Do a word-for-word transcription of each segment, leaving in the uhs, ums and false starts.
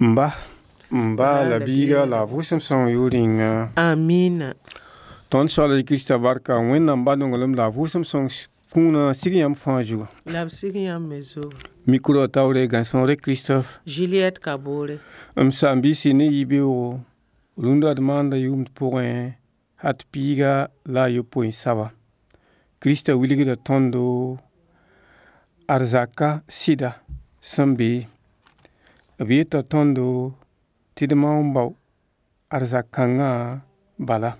M ba, m ba la biiga la a vʋʋsem sõng yʋʋr yĩnga. Amina. Tõnd Soaala Krista barka, Wẽnnaam ba nonglem la a vʋʋsem sõng kũuna sig yãmb fãa zugu. La b sig yãmb me zugu. Micro taoore Gãnsõore Christophe. Juliette Kabore. M saam-biisi ne yibeoogo rũndã d maanda yʋʋmd pʋgẽ hat piiga la a yopoe n saba. Krista wilgda tõndo arzaka sɩda sẽn be. B yeta tõndo tɩ d maoong n bao arzak-kãngã bala.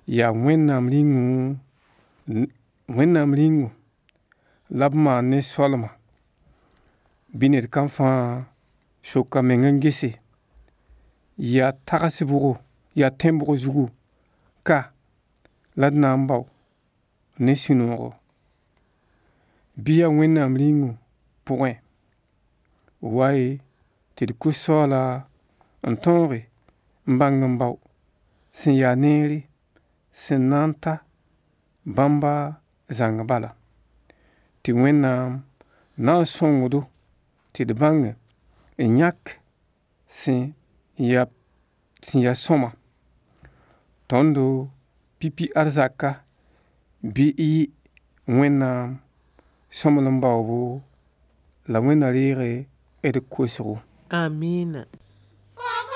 Yaa Wẽnnaam rĩngu Wẽnnaam rĩngu la b maan ne soalma bɩ ned kam fãa sok a meng n gese yaa tags bʋgo yaa tẽn-bʋg zugu ka la d na n bao ne sũ-noogo bɩ yaa Wẽnnaam rĩngu pʋgẽ wa-y tɩ d kos soaala n tõoge n bãng n bao sẽn yaa neere sẽn na n ta bãmba zãng bala tɩ Wẽnnaam na n sõngd-do tɩ d bãng n yãk sẽn yaa sẽn yaa sõma tõndo pipi arzaka bɩ y yɩ Wẽnnaam sõmblem baoobo la Wẽnd na reeg d kosgo. Amina.